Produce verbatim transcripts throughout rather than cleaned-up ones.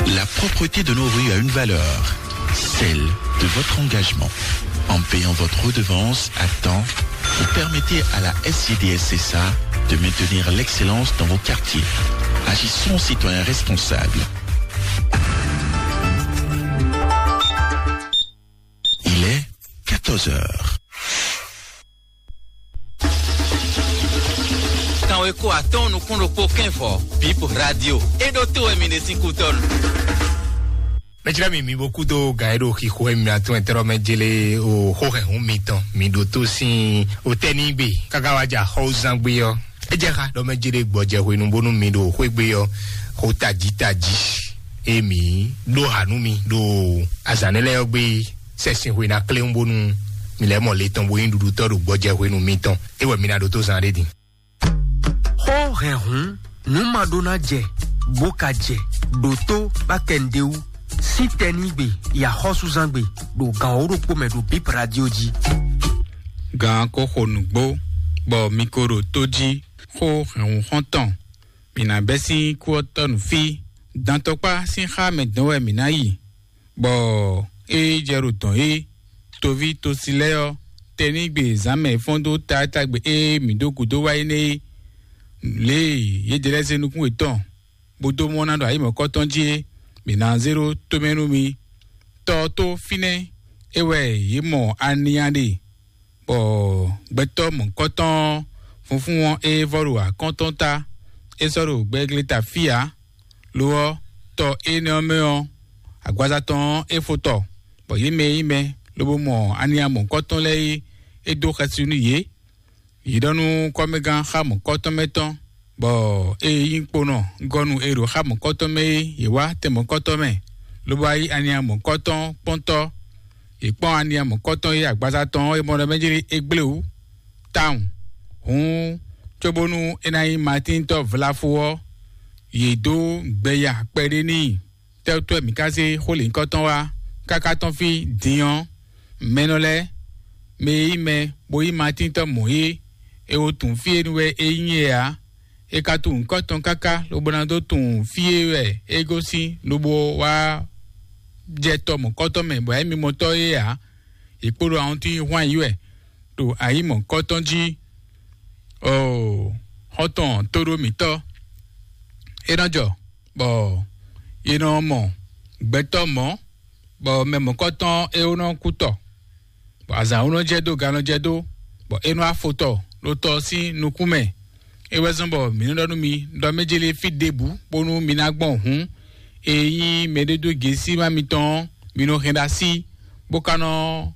La propreté de nos rues a une valeur, celle de votre engagement. En payant votre redevance à temps, vous permettez à la S C D S C S A de maintenir l'excellence dans vos quartiers. Agissons citoyens responsables. Il est quatorze heures. Kanweko atɔn nukún ɖokpó kɛnvɔ, Bip Radio. E ɖo to wɛ mi ɖe sín kútɔnu. Mɛjlɛ́ mi mi bo kúdó gǎn e ɖo xixo e mi atún ɛtɛ́ mɛ jélé o xó hɛn hun mitɔn mi ɖo tó sín o tɛ́ ní gbe káká wá jà xɔ́wúzán gbé ɔ́. É jẹ́ xá ɖɔ mɛ jélé gbɔjɛ hwenu bónú mi ɖo xwé gbé ɔ́, xó tají tají e mi ɖó ha nú mi ɖo azǎn nɛ́ lɛ́ɛ ɔ́ gbé sɛ́sin hwe ná kléwún bónú mi lɛ́ mɔ le tɔn bó nyí ɖuɖutɔ́ ɖo gbɔjɛ hwenu mitɔn. É wɛ mi ná ɖótó zán ɖé din. Xó hɛn hǔn, nǔ ma ɖó ná jɛ, bó ka jɛ, ɖǒtó bá kɛ nǔɖé wú, sín tɛnígbe, yi axɔ́súzángbe, ɖo gǎn wǒ ɖokpó mɛ ɖo Bip Radio jí. Gǎn ko xo nǔgbó, bɔ mi ko ɖo tó jí, xó hɛn hǔn xɔ́ntɔn, mǐ ná bɛ́ sín kú ɔ́ tɔ́ nǔ fí, dantɔkpá sín xá mɛ dɔn wɛ mǐ ná yi. Bɔ é jɛ ɖo dɔn é, toví tosi lɛ́ɛ ɔ́, tɛnígbe zǎnmɛ fɔ́n dó taátagbe e mǐ dó gǔdo wá é nɛ́ é. Lě e yě jɛ lɛ́ zé nukún yětɔn, bó dó mɔ ná ɖo ayǐ mɔ̌kɔ́tɔn jí é, mǐ ná zé ɖó tomɛ nú mi. Tɔ ɔ́ tó fínɛ́, é wɛ yě mɔ aniya ɖe, bɔ gbɛtɔ́ mɔ̌kɔ́tɔn ɔ́, funfún ɔ́, é vɔ́ ɖo akɔ́ntɔn ta, é sɔ́ ɖo gbɛgleta fí ǎ. Lo ɔ́, tɔ énɛ́ ɔ́ mɛ ɔ́, agbaza tɔn ɔ́, é fó tɔ, bɔ yě mɛ e nyí mɛ lobo mɔ aniya mɔ̌kɔ́tɔn lɛ́ɛ é, é dó xɛsi nú yě. Yě ɖɔ nú kɔ́mɛgán xá mɔ̌kɔ́tɔn mɛ tɔn, bɔ ée nyí kponɔ gɔ́ nú e ɖo xá mɔ̌kɔ́tɔn mɛ é, yě wá tɛn mɔ̌kɔ́tɔn mɛ, lobo wá yí aniya mɔ̌kɔ́tɔn kpɔ́ntɔ́. Yě kpɔ́n aniya mɔ̌kɔ́tɔn e agbaza tɔn ɔ́, é mɔ ɖɔ mɛ jlí é gblé wǔ tawun. Hǔn, cóbónú é ná nyí Matíntɔ́ vlafo ɔ́, yě dó gbɛ ya kpɛɖé n'i. Tɛ́wútɔ́ mǐ ka zé xó lěhunkɔtɔn wá, káká tɔ́n fí din ɔ́, mɛnɔ lɛ́ɛ, mɛ e nyí mɛ, bó nyí Matíntɔ́ mɔ̌ é, è wo tunwun fí e nu wɛ é nyí é ǎ. È ka tunwun nyǐkɔ tɔn káká, lobo ná dó tunwun fí e wɛ é gosín, lobo wá jɛ tɔ mɔ̌kɔ́tɔn mɛ, bɔ é mimɔtɔ́ é ǎ. È kpo ɖo ahɔntín hwan yí wɛ ɖo ayǐ mɔ̌kɔ́tɔn jí. Oo, xɔ́ntɔn tóɖó mǐtɔn, é nɔ jɔ, bɔ è nɔ mɔ gbɛtɔ́ mɔ̌, bɔ mɛ mɔ̌kɔ́tɔn é nɔ kú tɔ, bɔ azǎn nɔ jɛ dó, gan nɔ jɛ dó, bɔ é nɔ afo tɔ ɖo tɔ sín nukún mɛ. É wɛ zɔ́n bɔ mǐ nɔ ɖɔ nú mi ɖɔ mɛ jélé fí ɖěbǔ bónú mi ná gbɔn hǔn, e nyí mɛɖédógěsímá mitɔn ɔ́, mi nɔ hɛn ɖo así, bó ka nɔ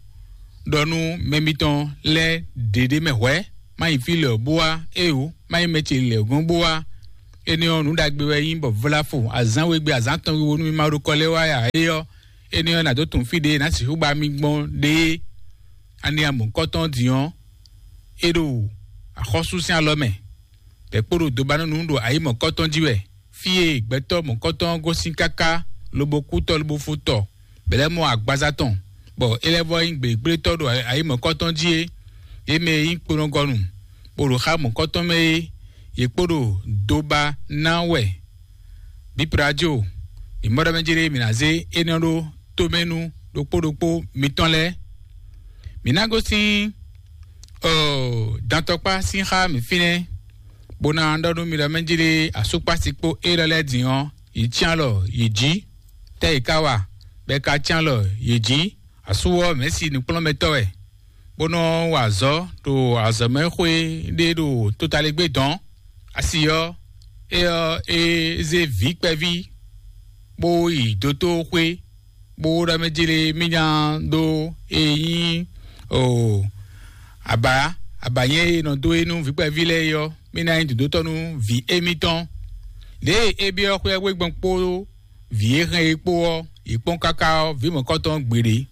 ɖɔ nú mɛ mitɔn lɛ́ɛ ɖěɖé mɛ hwɛ̌, má nyí fí lɛ̌ bó wá, éeǒ, má nyí mɛ ce lɛ̌ gɔ́n bó wá. Énɛ́ ɔ́, nǔ ɖagbe wɛ nyí bɔ vlafo azǎn we gbe azǎn tɔn wiwo nú mi ma ɖo kɔ lɛ́ wá ǎ é ɔ́, énɛ́ ɔ́, nǎ dó tunwun fí ɖě ná sixú ba mi gbɔn ɖě é. Aniya mɔ̌kɔ́tɔn din ɔ́, é ɖo axɔ́sú sín alɔ mɛ, bɔ é kpo ɖo dobanúnú ɖo ayǐ mɔ̌kɔ́tɔn jí wɛ. Fí e gbɛtɔ́ mɔ̌kɔ́tɔn ɔ́ gosín káká, lobo kú tɔ, lobo fó tɔ, bɔ é lɛ́ mɔ agbaza tɔn, bɔ é lɛ́ vɔ́ nyí gběgblétɔ́ ɖo ayǐ mɔ̌kɔ́tɔn jí é. Yě mɛ e nyí kponɔgɔnu, bó ɖo xá mɔ̌kɔ́tɔn mɛ é, yě kpo ɖo doba ná wɛ. Biplajo, mǐ mɔ ɖɔ mɛ jlé mǐ ná zé énɛ́ ɖó tomɛ nú ɖokpó ɖokpó mitɔn lɛ́ɛ. Mǐ ná gosín dantɔkpá sín xá mǐ fínɛ́, bó ná ɖɔ nú mi ɖɔ mɛ jlé asúkpási kpó élɔ́ lɛ́ɛ din ɔ́, yě cyán alɔ yě jí. Tɛ́ yě ka wa, bɔ è ka cyán alɔ yě jí? Asú ɔ́, mɛ̌si nǔkplɔ́nmɛtɔ́ wɛ, bó nɔ́ wa azɔ̌ ɖo azɔ̌mɛxwé ɖé ɖo totaligbé dɔ̌n. Asi ɔ́, é ɔ́, é zé vǐ kpɛví, bó yi dotóxwé, bó ɖɔ mɛ jlé mí nya dó e nyí o aba abanyɛ e nɔ dó e nú vǐ kpɛví lɛ́ɛ é ɔ́, mí ná nyí dǒdótɔ́ nú vǐ émítɔn. Lě e é byɔ́ xwé ɔ́ gbé gbɔn kpó vǐ e hɛn é kpó ɔ́, yě kpɔ́n káká ɔ́, vǐ mɔ̌kɔtɔn gbeɖé.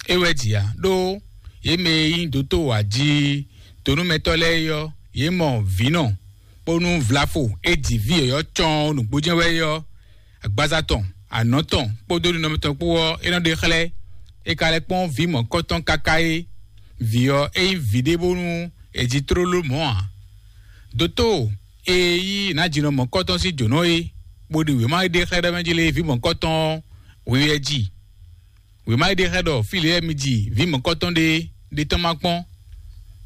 É wɛ jǐ ǎ, ɖó yě mɛ e nyí dǒtó aji tonúmɛtɔ́ lɛ́ɛ é ɔ́, yě mɔ vǐnɔ, bónú vlafo e ji vǐ yɔ̌yɔ́ cɔ́ɔn nǔgbó jɛ́n wɛ é ɔ́, agbaza tɔn, anɔ̌ tɔn kpódó ninɔmɛ tɔn kpó ɔ́, é nɔ ɖe xlɛ́. É ka lɛ́ kpɔ́n vǐ mɔ̌kɔtɔn káká é. Vǐ ɔ́, é nyí vǐ ɖé bónú è ji tlóló mɔ̌ ǎ. Dotó e yí nǎjinɔ mɔ̌kɔtɔn sín jǒnɔ é, bó ɖi wěma e ɖe xlɛ́ ɖɔ mɛ jí lé vǐ mɔ̌kɔtɔn ɔ́, hwe wɛ jí. Wěma e ɖe xlɛ́ ɖɔ fí lě wɛ mi ji vǐ mɔ̌kɔtɔn ɖé ɖé tɔn ma kpɔ́n.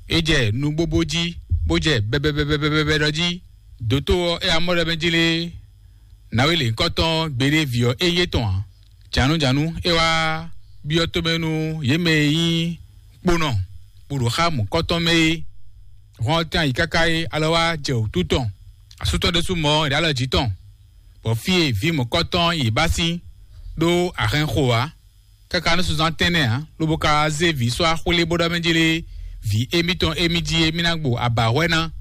É jɛ nugbógbó jí, bó jɛ bɛbɛbɛbɛbɛbɛ ɖɔ jí. Dǒtó ɔ́, é wá mɔ ɖɔ mɛ jí lé nǎwe lěhunkɔtɔn gbeɖé vǐ ɔ́ é nyí étɔn ǎ. Jǎnújǎnú é wá byɔ́ tomɛ nú yě mɛ e nyí kponɔ bó ɖo xá mɔ̌kɔtɔn mɛ é. Hɔn ɔ́ tɛ́n ayǐ káká é alɔ wá jɛ wǔtu tɔn. Asú tɔn ɖésú mɔ ɔ́, è ɖǒ alɔ jǐ tɔn, bɔ fí e vǐ mɔ̌kɔtɔn yě bá sín ɖó ahɛn xo ǎ. Káká nú sunzán tɛ́nnɛ ǎ, lobo ka zé vǐ sɔ́ axwlé bó ɖɔ mɛ jí lé vǐ émítɔn émí jí émí ná gbo abǎhwɛ ná.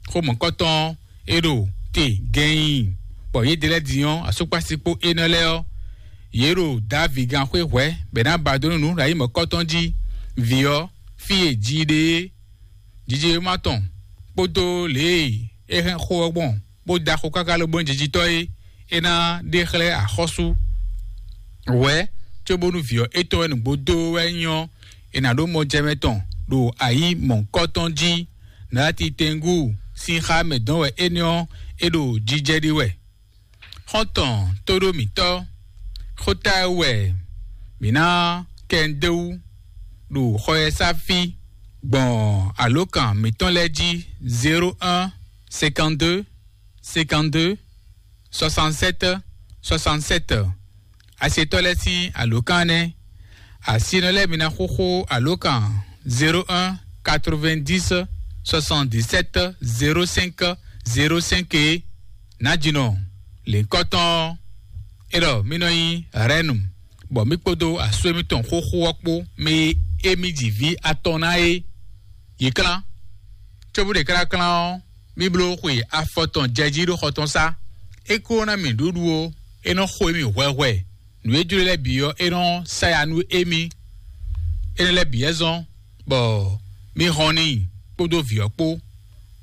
Xó mɔ̌kɔtɔn é ɖo te gɛnnyí, bɔ yědɛɛ lɛ́ɛ din ɔ́, asúkpási kpó énɛ́ lɛ́ɛ ɔ́, yě ɖo Davíd gán xwé hwɛ̌ bɔ è nǎ ba dó nú nǔ ɖo ayǐ mɔ̌kɔtɔn jí. Vǐ ɔ́, fí e ji ɖe é, jijɛ e ma tɔn kpódó lě e é hɛn xó ɔ́ gbɔn, bó da xo káká lobo nyí jijitɔ́ é, é ná ɖe xlɛ́ axɔ́sú wɛ̌, cóbónú vǐ ɔ́ étɔn wɛ nǔgbó dó wɛ nyí ɔ́, è nǎ ɖó mɔjɛmɛ tɔn ɖo ayǐ mɔ̌hunkɔtɔn jí. Nalati tɛngú sín xá mɛ dɔn wɛ énɛ́ ɔ́, é ɖo jijɛ ɖi wɛ. Xɔ́ntɔn tóɖó mǐtɔn, xóta wɛ mǐ ná kɛ ń dó wú ɖo xɔ e sá fí gbɔn alǒkan mǐtɔn lɛ́ɛ jí: zéro un, cinquante-deux, cinquante-deux, soixante-sept, soixante-sept. Asetɔ́ lɛ́ɛ sín alǒkan nɛ́. Asinɔ lɛ́ɛ mi ná xóxó alǒkan zéro un, quatre-vingt-dix, soixante-dix-sept, zéro cinq, zéro cinq é. Nǎjínɔ lěhunkɔtɔn ɔ́, é ɖɔ mì nɔ nyí Rɛnu, bɔ mì kpódó asú émítɔn xóxó ɔ́ kpó mɛ e émí ji vǐ atɔn ná é. Yě klán, cóbú ɖe kláklán ɔ́, mì bló xwe afɔ tɔn jɛ jí ɖó xɔ tɔn sá. É kó ná mì nǔɖuɖu ó, é nɔ xo émí hwɛhwɛ. Nǔ e jló lɛ́ɛ bǐ ɔ́, é nɔ sá ya nú émí. Énɛ́ lɛ́ɛ bǐ wɛ zɔ́n bɔ mì hɔn n'i kpódó vǐ ɔ́ kpó.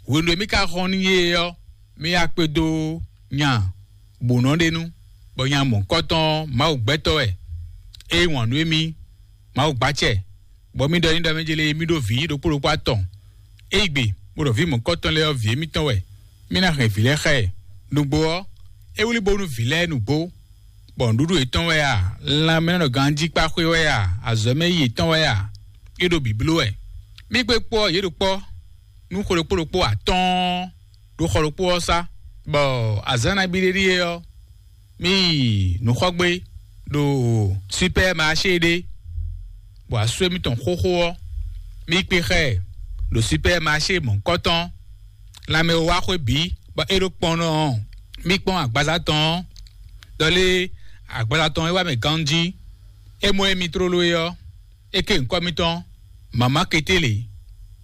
Hwenu e mì ka hɔn n'i é ɔ́, mì wá kpé dó nya bǒnɔ ɖé nu, bɔ nya mɔ̌hunkɔtɔn Mawu gbɛtɔ́ wɛ. É yí wǎn nú émí, Mawu gbacɛ, bɔ mì ɖɔ n'i ɖɔ mɛ jɛ lě e mì ɖó vǐ ɖokpó ɖokpó atɔn. É yí gbe, bó ɖɔ vǐ mɔ̌hunkɔtɔn lɛ́ɛ ɔ́, vǐ émítɔn wɛ. Mì ná hɛn vǐ lɛ́ɛ xá ɛ. Nǔgbó ɔ́, é wlí bónú vǐ lɛ́ɛ nǔgbó, bɔ nǔɖuɖu yětɔn wɛ a, lanmɛnɔganjíkpáxwé wɛ a, azɔ̌mɛyí yětɔn wɛ a, é ɖo bǐbló wɛ. Mì gbé kpɔ́ yě ɖo kpɔ́ nú xwe ɖokpó ɖokpó atɔ́ɔ́n ɖo xɔ ɖokpó ɔ́ sá, bɔ azǎn nabí ɖé ɖíe ɔ́, mì yi nǔxɔgbé ɖo Supɛ́maṣé ɖé, bɔ asú émítɔn xóxó ɔ́, mì kpé xá ɛ ɖo Supɛ́maṣé mɔ̌hunkɔtɔn. Lanmɛ e wá xwé bǐ, bɔ é ɖo kpɔ́n ɔ́, mì kpɔ́n agbaza tɔn ɔ́, ɖɔ lé agbaza tɔn e wá mɛ ganjí. É mɔ émí tlóló é ɔ́, é ké nyǐkɔ mitɔn, Mama Ketele.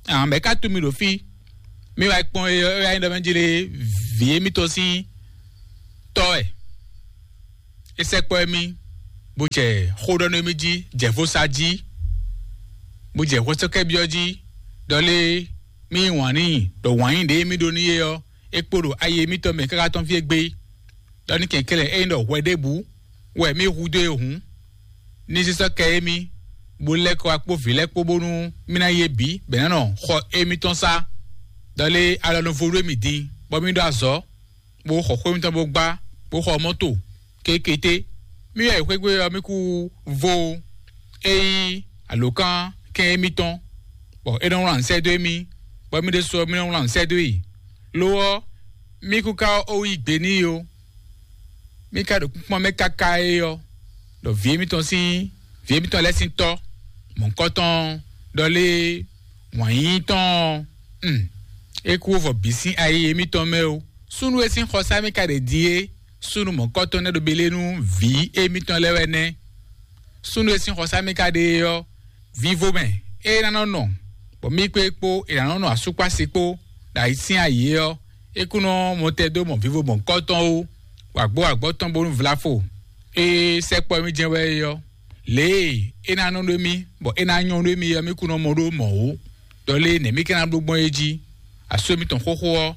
Amɛ̌ ka tunwun mì ɖo fí? Mì wá yi kpɔ́n é ɔ́, é wá nyí ɖɔ mɛ jí lé vǐ émítɔn sín tɔ́ wɛ. É sɛkpɔ́ émí, bó jɛ xó ɖɔ nú émí jí, jɛ vo sa jí, bó jɛ hwɛsɔ́kɛ́byɔ́ jí, ɖɔ lé mì yí wǎn n'i ɖɔ wǎn yí ɖě émí ɖó n'i é ɔ́, é kpo ɖo ayi émítɔn mɛ káká tɔ́n fí égbé. Ɖɔ ní kɛnklɛ́n ényí ɖɔ hwɛ ɖěbǔ wɛ mì hudó e hǔn, ní sísɔ́ kɛ émí, bó lɛ́ kɔ wá kpó vǐ lɛ́ɛ kpó bónú mì ná yí bǐ bɔ è nǎ nɔ xɔ émítɔn sá. Ɖɔ lé alɔ nɔ vo ɖó émí din, bɔ mì ɖó azɔ̌, bó xɔ xwé mitɔn bó gbá, bó xɔ mɔ́to kékété. Mì yɔ yi xwé gbe ɔ́, mì kú vo é nyí alǒkan kɛn émítɔn, bɔ é nɔ wlán sɛ́ dó émí, bɔ mì ɖésú ɔ́, mì nɔ wlán sɛ́ dó yi. Lo ɔ́, mì kú ka ó yí gbe n'i ó. Mì ka ɖo kpínkpɔ́n mɛ káká é ɔ́, ɖɔ vǐ émítɔn sín vǐ émítɔn lɛ́ɛ sín tɔ́ mɔ̌hunkɔtɔn ɖɔ lé wǎn yíyí tɔn ɔ́, un, é kú vɔ bǐ sín ayi émítɔn mɛ ó. Súnnu e sín xɔsá mì ka ɖe din é, súnnu mɔ̌kɔtɔn nɛ́ ɖo Belénu vǐ émítɔn lɛ́ɛ wɛ nɛ́. Súnnu e sín xɔsá mì ka ɖe é ɔ́, vivo mɛ é ná nɔ nɔ, bɔ mì kpé kpó è nǎ nɔ nɔ asúkpási kpó ɖo ayǐ sín ayǐ é ɔ́, é kún nɔ mɔ tɛn dó mɔ vivo mɔ̌kɔtɔn ó, wǎgbó wǎgbɔ́ tɔn bónú vlafo e sɛkpɔ́ mì jɛ́n wɛ é ɔ́. Lě e é ná nɔ ɖó mì, bɔ é ná nyɔ́ ɖó mì ɔ́, mì kún nɔ mɔ ɖó mɔ̌ ó. Ɖɔ lé nɛ̌ mì ka ná bló gbɔn é jí? Asú mitɔn xóxó ɔ́,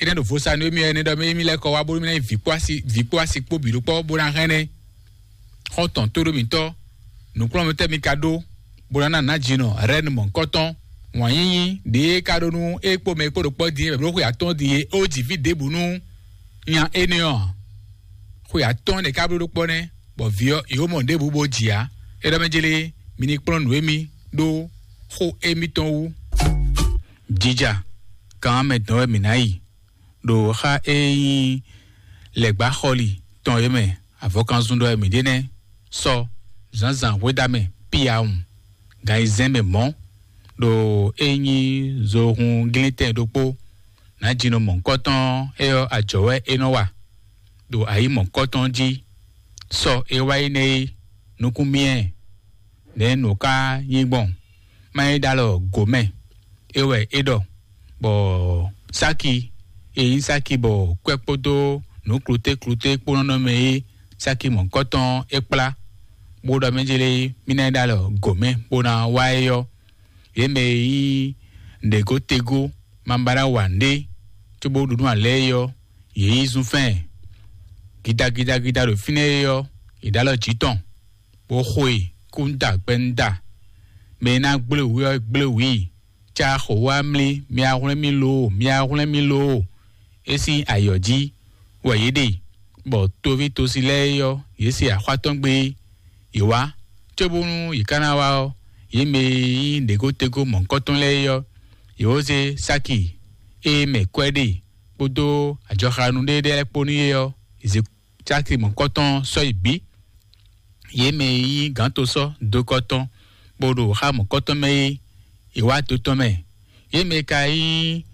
é nɛ́ ɖo vo sa nú émí ɔ́, é nɛ́ ɖɔ mì émí lɛ́ kɔ wá bónú mì ná nyí vǐ kpó asi vǐ kpó asi kpó bǐ ɖokpɔ́ bó ná hɛn ɛ. Xɔ́ntɔn tóɖómítɔ́, nǔkplɔ́nmɛtɔ́ mi ka ɖó, bó ná ná nǎjínɔ Rɛnu mɔ̌hunkɔtɔn, wǎn yíyí ɖě e ka ɖó nú é kpó mɛ e kpó ɖo kpɔ́ din é bɔ bló xwe atɔ́ɔ́n din é ó ji vǐ ɖěbǔ nú nya énɛ́ ɔ́ ǎ. xwe atɔ́ɔ́n ɖé ká bló ɖó kpɔ́ nɛ́, bɔ vǐ ɔ́, yǒ mɔ ɖěbǔ bó jǐ ǎ. É ɖɔ mɛ jlé, mi ní kplɔ́n nǔ émí ɖó xó émítɔn wú. Jija kan mɛ dɔn wɛ mǐ ná yi ɖo xá e nyí lɛ̌gbáxɔli tɔn é mɛ. Avɔkanzun ɖɔ wɛ mǐ ɖe nɛ́. Sɔ zǎnzǎn hwedamɛ piyawun gan ayizɛ́n mɛ mɔ̌, ɖo e nyí zohun glintɛn ɖokpó. Nǎjínɔ mɔ̌hunkɔtɔn é ɔ́, ajɔ̌ wɛ é nɔ wa ɖo ayǐ mɔ̌hunkɔtɔn jí. Sɔ e wá yi nɛ́ é, nukún myɛ nɛ̌ nǔ ká nyí gbɔn? Má nyí ɖó alɔ gǒ mɛ, é wɛ é ɖɔ, bɔ sáki e nyí sáki bɔ kwɛ́ kpódó nǔ kluté kluté kpó nɔ nɔ mɛ é, sáki mɔ̌hunkɔtɔn é kplá, bó ɖɔ mɛ jlé mí ná yi ɖó alɔ gǒ mɛ bó ná wá é ɔ́. Yě mɛ e nyí nǔɖégó tegó ma ba ná wa nǔɖé cóbó ɖu nú alɛ é ɔ́, yě yí zunfɛ́n gidagidagida ɖo fínɛ́ é ɔ́, yě ɖó alɔ jǐ tɔn, bó xo e kúnda gbɛ́núda. Mɛ e ná gblé wǔ ɔ́, gblé wǔ i. Cá xo wá mlí, mi wá hwlɛ́n mì loo, mi wá hwlɛ́n mì loo. É sín ayǐ ɔ́ jí wɛ yě ɖe, bɔ toví tosi lɛ́ɛ é ɔ́, yě se axwá tɔn gbé. Yě wá, cóbónú yě ká ná wá ɔ́, yě mɛ e nyí nǔɖégótegó mɔ̌hunkɔtɔn lɛ́ɛ é ɔ́, yě wó zé sáki e mɛ kwɛ́ ɖe kpódó ajɔxanú ɖé lɛ́ɛ kpó n'i é ɔ́, yě zé sáki mɔ̌hunkɔtɔn sɔ́ yi bǐ. Yě mɛ e nyí gǎntosɔ́ dokɔ tɔn, bó ɖo xá mɔ̌kɔtɔn mɛ é, è wá to tɔn mɛ. Yě mɛ e ka nyí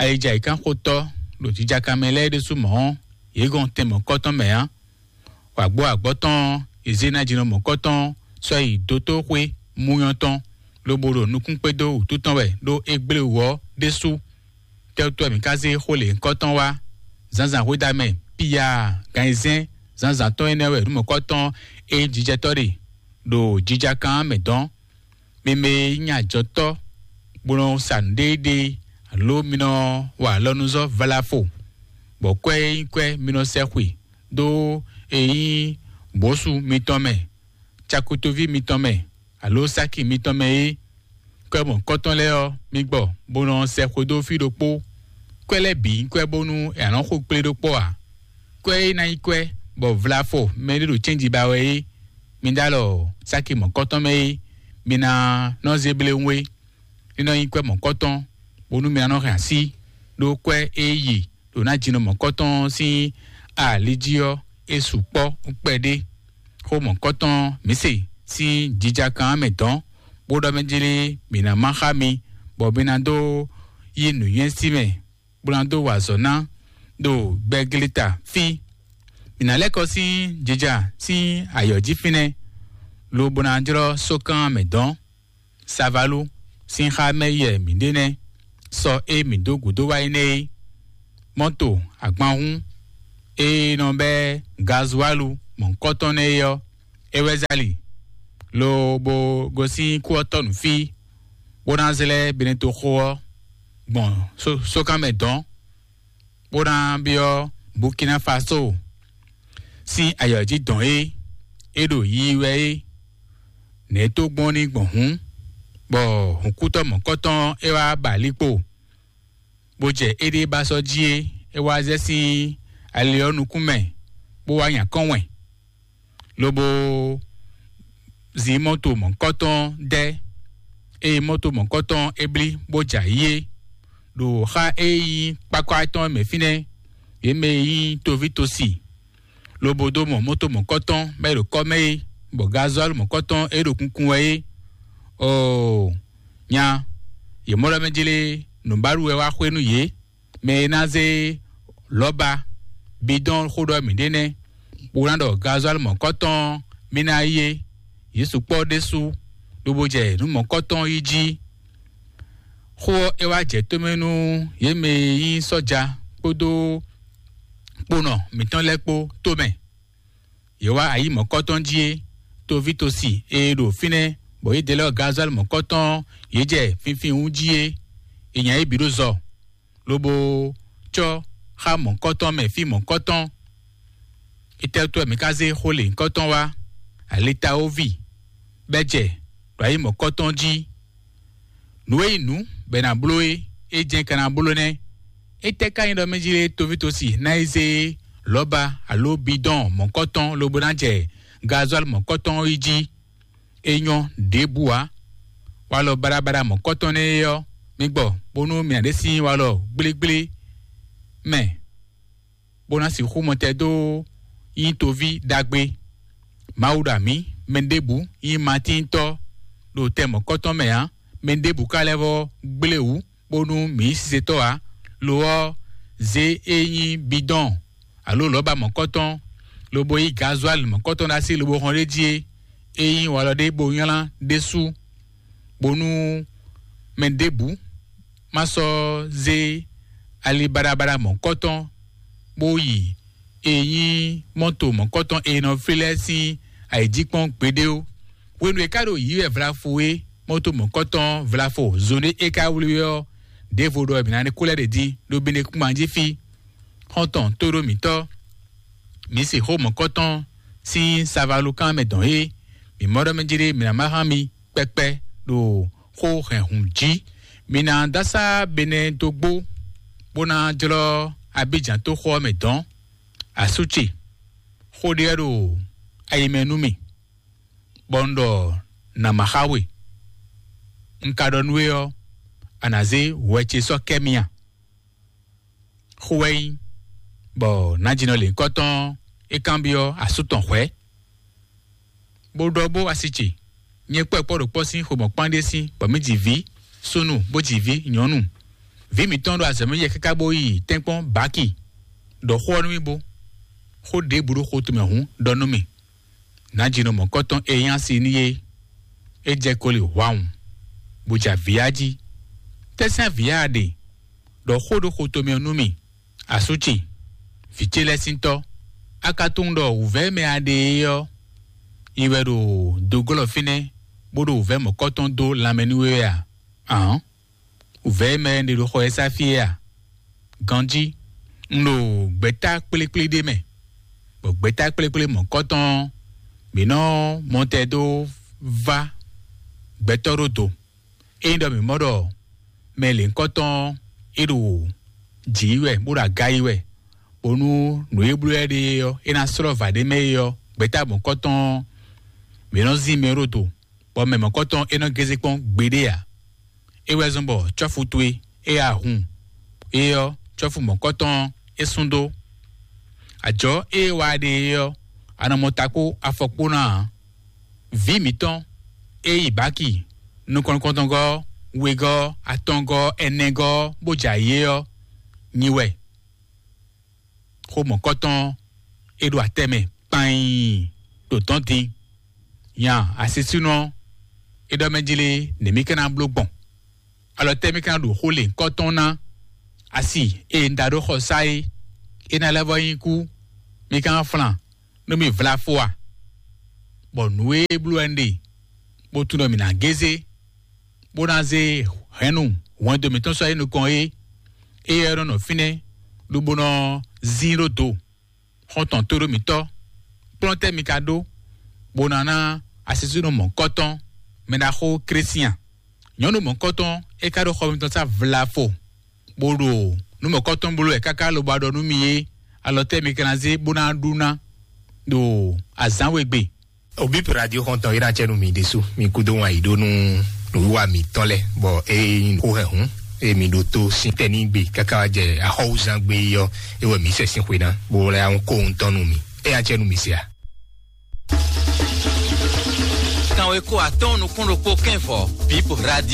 ayijǎyǐkánxotɔ́ ɖo jǐjakan mɛ lɛ́ɛ ɖésú mɔ̌ ɔ́, yě gɔn tɛn mɔ̌kɔtɔn mɛ ǎ. Wǎgbó agbɔ̌ tɔn ɔ́, yě zé ná jinɔ mɔ̌kɔtɔn sɔ́ yi dótóxwé muyɔ́ tɔn, lobo ɖo nukún kpédó wǔtu tɔn wɛ ɖó é gblé wǔ ɔ́ ɖésú. Tɛ́wútu wɛ mǐ ka zé xó lěhunkɔtɔn wá? Zǎnzǎn hwedamɛ piya gan ayizɛ́n zǎnzǎn tɔn énɛ́ wɛ nǔ mɔ̌kɔtɔn e nyí jijɛtɔ́ ɖe ɖo jijakan mɛ dɔn. Mi mɛ e nyí ajɔtɔ́, bó nɔ sa nǔɖéɖé, alo mi nɔ wa alɔnuzɔ́ vlafo, bɔ kwɛ́ e nyí kwɛ́ mi nɔ sɛ́ xwe dó e nyí bǒsu mitɔn mɛ, cakutoví mitɔn mɛ, alo sáki mitɔn mɛ é. Kwɛ́ mɔ̌kɔtɔn lɛ́ɛ ɔ́, mi gbɔ, bó nɔ sɛ xwedó fí ɖokpó. Kwɛ́ lɛ́ɛ bǐ nyí kwɛ́ bónú è nǎ nɔ xo kplé ɖó kpɔ́ ǎ. Kwɛ́ e ná nyí kwɛ́ bɔ vlafɔ mɛ ɖé ɖo cɛ́nji ba wɛ é, mi ɖó alɔ sáki mɔ̌kɔtɔn mɛ é, mi ná nɔ zé bléwún é. Ní nɔ nyí kwɛ́ mɔ̌kɔtɔn, bónú mi ná nɔ hɛn así ɖó kwɛ́ e yi ɖo ná jinɔ mɔ̌kɔtɔn sín ali jí ɔ́, é sukpɔ́ kpɛɖé. Xó mɔ̌kɔtɔn mǐ se sín jijakan mɛ dɔn, bó ɖɔ mɛ jlé mǐ ná má xá mi, bɔ mi ná dó yí nǔnywɛ́ sí mɛ, bó ná dó wa azɔ̌ ná ɖo gbɛgleta fí. Mǐ ná lɛ́ kɔ sín jija sín ayɔ̌ jí fínɛ́, lobo ná jlɔ́ sókan mɛ dɔn. Savalu sín xá mɛ yɛ mǐ ɖe nɛ́. Sɔ e mǐ dó gǔdo wá é nɛ́ é, mɔ́to agbanhún e nɔ bɛ́ gazualu mɔ̌hunkɔtɔn nɛ́ é ɔ́, é wɛ zali, lobo gosín kú ɔ́ tɔ́ nǔ fí, bó ná zlɛ́ Benetoxo ɔ́ gbɔn sókan mɛ dɔn, bó ná byɔ́ Burkina Faso sín ayɔ̌ jí dɔn é, é ɖo yiyi wɛ é. Nɛ̌ tó gbɔn ní gbɔn hǔn, bɔ hǔnkútɔ́ mɔ̌kɔtɔn é wá ba líkpo, bó jɛ éɖée ba sɔ́ jí é, é wá zɛ sín ali ɔ́ nukún mɛ, bó wá nya kɔ́n wɛn, lobo zin mɔto mɔ̌kɔtɔn dɛ́, eye mɔto mɔ̌kɔtɔn é blí bó jɛ ayǐ é, ɖo xá e nyí kpákpá tɔn mɛ fínɛ́, yě mɛ e nyí toví tosi, lobo dó mɔ mɔto mɔ̌kɔtɔn bɔ é ɖo kɔ́ mɛ é, bɔ gazɔ́lu mɔ̌kɔtɔn é ɖo kunkun wɛ é. Oo, nya, yě mɔ ɖɔ mɛ jlé nǔbáɖu wɛ wá xwé nú yě. Mɛ e ná zé lɔ̌ba bidɔn xó ɖɔ mǐ ɖe nɛ́, bó ná ɖɔ gazɔ́lu mɔ̌kɔtɔn mì ná yí é. Yě sukpɔ́ ɖésú, lobo jɛ nǔ mɔ̌kɔtɔn yí jí. Xó ɔ́, é wá jɛ tómɛ nú yě mɛ e nyí sɔ́ja kpódó kponɔ mǐtɔn lɛ́ɛ kpó tomɛ. Yě wá ayǐ mɔ̌kɔtɔn jí é, toví tosi e ɖo fínɛ́, bɔ yě dɛ lɛ́ gazɔ́lu mɔ̌kɔtɔn yě jɛ finfin wú jí é. È nya yě bǐ ɖó zɔ, lobo cɔ́ xá mɔ̌kɔtɔn mɛ fí mɔ̌kɔtɔn. Étɛ́ wútu wɛ mǐ ka zé xó lěhunkɔtɔn wá? Alitawoví bɛ́ jɛ ɖo ayǐ mɔ̌kɔtɔn jí. Nǔ e nyí nǔ bɔ è nǎ bló é, é jɛ́n ka ná bló nɛ́. Étɛ́ ka nyí ɖɔ mɛ jí lé toví tosi ná yi zé lɔ̌ba alo bidɔn mɔ̌kɔtɔn lobo ná jɛ gazɔ́li mɔ̌kɔtɔn yi jí. É nyɔ́ ɖěbǔ ǎ. Walɔ baɖabaɖa mɔ̌kɔtɔn nɛ́ é ɔ́, mi gbɔ bónú mi ná ɖe sín walɔ gblégblé mɛ, bó ná sixú mɔtɛn dó nyí toví ɖagbe. Mawu ɖo amǐ, mɛ ɖěbǔ nyí matíntɔ́ ɖo tɛ mɔ̌kɔtɔn mɛ ǎ. Mɛ ɖěbǔ ka lɛ́ vɔ́ gblé wǔ bónú mǐ yí sisetɔ́ ǎ. Lo ɔ́, zě e nyí bidɔn alo lɔ̌ba mɔ̌kɔtɔn, lobo yí gazwali mɔ̌kɔtɔn ɖó así lobo hɔn ɖ'é jí é, é nyí walɔ ɖé bó nylá ɖésú, bónú mɛ ɖěbǔ má sɔ́ zé ali baɖabaɖa mɔ̌kɔtɔn bó yi e nyí mɔ́to mɔ̌kɔtɔn e nɔ flí lɛ́ɛ sín ayǐjínjɔ́n gbeɖé ó. Hwenu e é ka ɖo yǐ wɛ vlafo é, mɔ́to mɔ̌kɔtɔn vlafo zɔn ɖé é ka wlí wɛ ɔ́, ɖěvo ɖɔ mǐ ná ní kó lɛ́ ɖě dín ɖó Benekúngbán jí fí. Xɔ́ntɔn tóɖó mǐtɔn, mǐ se xó mɔ̌kɔtɔn sín savalukán mɛ dɔn é, mǐ mɔ ɖɔ mɛ jí ɖé mǐ ná má hán mi kpɛkpɛ ɖo xó hɛn hǔn jí. Mi ná dó asá Benɛ́ dó gbó, bó ná jlɔ́ Abíjan tó xó ɔ́ mɛ dɔ̌n. Asú ce, xó ɖé wɛ ɖo ayi mɛ nú mì, bɔ un ɖɔ nǎ ma xá we. Un ka ɖɔ nú we ɔ́, a nǎ zé hwɛ ce sɔ́ kɛ́ mì a? Xó wɛ nyí, bɔ nǎjínɔ lěhunkɔtɔn é kanbyɔ́ asú tɔn hwɛ̌, bó ɖɔ bó asi ce. Nyɛ kpɔ́ kpɔ́ ɖo kpɔ́ sín xomɔkpán ɖé sín, bɔ mǐ ji vǐ súnnu, bó ji vǐ nyɔ̌nu. Vǐ mǐtɔn ɖo azɔ̌ mɛ yɛ káká bó yi tɛ́nkpɔ́n bǎki. Ɖɔ xó ɔ́ nú mì bó. Xó ɖěbǔ ɖo xo tɔn mɛ hǔn, ɖɔ nú mì. Nǎjínɔ mɔ̌kɔtɔn e nyí asi n'i é, é jɛ koli hwawun, bó ja vǐ á jí. Tɛ́sɛ́n vǐ á ɖe? Ɖɔ xó ɖo xo tɔn mɛ nú mì. Asú ce, vǐ ce lɛ́ɛ sín tɔ́, a ka tunwun ɖɔ wǔvɛ́ e mɛ a ɖe é ɔ́, yi wɛ ɖo dogɔ́lɔ fínɛ́, bó ɖo wǔvɛ́ mɔ̌kɔtɔn dó lanmɛ nú we wɛ a? Ǎn, wǔvɛ́ e mɛ e ɖe ɖo xɔ ɛ sá fí é a? Ganjí, un ɖo gbɛ̌ta kplékplé ɖé mɛ, bɔ gbɛ̌ta kplékplé mɔ̌kɔtɔn ɔ́, mǐ nɔ mɔtɛn dó vá gbɛtɔ́ ɖó do. Ényí ɖɔ mǐ mɔ ɖɔ mɛ lěhunkɔtɔn ɔ́, é ɖo jǐ yi wɛ, bó ɖo aga yi wɛ, bónú nǔ e bló ɛ ɖe é ɔ́, é ná slɔ́ vǎ ɖé mɛ é ɔ́, gbɛ̌ta mɔ̌kɔtɔn ɔ́, mǐ nɔ zín mɛ ɖó do, bɔ mɛ mɔ̌kɔtɔn é nɔ gézé kpɔ́n gbeɖé ǎ. É wɛ zɔ́n bɔ cɔ́fu towe é ya hun é ɔ́, cɔ́fu mɔ̌kɔtɔn ɔ́, é sún dó. Ajɔ̌ e é wa ɖe é ɔ́, a nɔ mɔ ta kpó afɔ kpó ná ǎ. Vǐ mǐtɔn e yi bǎki nukɔn nukɔntɔngɔ́, wegɔ́, atɔngɔ́, ɛnɛgɔ́, bó jɛ ayǐ é ɔ́, nyi wɛ. Xó mɔ̌kɔtɔn ɔ́, é ɖo atɛ mɛ kpain ɖo dɔ̌n din. Nya asisúnɔ ɔ́, é ɖɔ mɛ jí lé, nɛ̌ mì ka ná bló gbɔn? Alɔ tɛ́ mì ka ná ɖo xó lěhunkɔtɔn ná? Asi e un da ɖó xɔ sá é, é ná lɛ́ vɔ́ nyí kú, mì ka ná flan nú mì vlafo a? Bɔ nǔ e bló wɛ un ɖe, bó tunwun ɖɔ mǐ ná gézé, bó ná zé hɛ̌nnu hwɛndo mǐtɔn sɔ́ yi nukɔn é, éyɛ́ nɔ nɔ fínɛ́, lobo nɔ zín ɖó do. Xɔ́ntɔn tóɖó mǐtɔn, kplɔ́n tɛ́ mi ka ɖó, bó ná ná asisúnɔ mɔ̌kɔtɔn, mɛ ɖaxó Klísian? Nyɔ̌nu mɔ̌kɔtɔn, é ka ɖo xɔ mitɔn sá vlafo, bó ɖo nǔ mɔ̌kɔtɔn bló wɛ káká lobo wá ɖɔ nú mi é, alɔ tɛ́ mi ka ná zé bó ná ɖu ná ɖo azǎn we gbe? Obipu radio xɔntɔn yi na cɛ nu mi ɖesu mi kudo wan yi ɖo nu nuwiwa mi tɔn lɛ bɔ e yin ko hɛ hun e mi ɖo to sin tɛ ni gbe kaka wa jɛ axɔwuzan gbe yi ɔ e wɛ mi sɛ sin xwe na bo lɛ ahun ko ŋutɔn nu mi e ya cɛ nu mi se a. Kan we ko atɔn nukun ɖokpó kɛn vɔ bip radio.